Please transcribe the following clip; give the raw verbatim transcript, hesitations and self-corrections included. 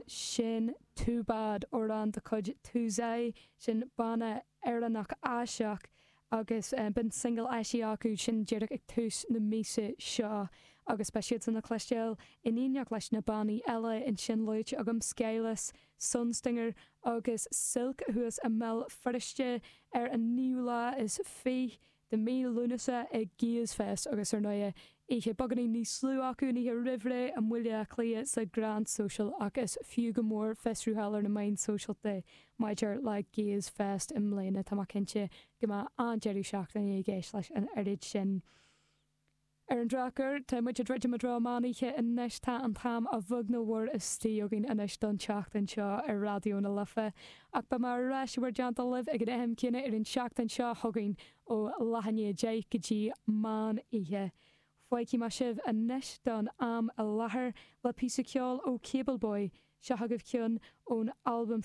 Sin Too Bad amhrán de chuid Tuesday sin banna Éireannach Áiseach agus um, b'in single eisithe acu sin díreach ag tús na míosa seo agus beidh siad le cloisteáil in éineacht leis na bannaí eile ansin luaite agam Scélas, Sunstinger agus Silk thuas i mBéal Feirste ar an naoú lá is fiche de mí Lúnasa ag Gaze Fest agus ar ndóigh oíche beagáinín níos lú acu an oíche roimh ré i mBaile Átha Cliath sa Grand Social agus fiú go mór fiosrúcháil ar na meáin sóisialta maidir le Gaze Fest i mbliana tá cinnte go mbeidh an-deireadh seachtaine i gceist leis an oiread sin. Ar an drochuair tá muid ag druidim i dtreo meánoíche anois tá an t-am a bheag nó mhór istigh againn anois don tseachtain seo ar Raidió na Life, ach beidh mé ar ais bhur dteannta libh ag an am céanna ar an seachtain seo chugainn ó leath i ndiaidh a deich go dtí meán oíche. Fágfaidh mé sibh anois don am i láthair le píosa ceoil ó Cable Boy seo agaibh ceann ón albam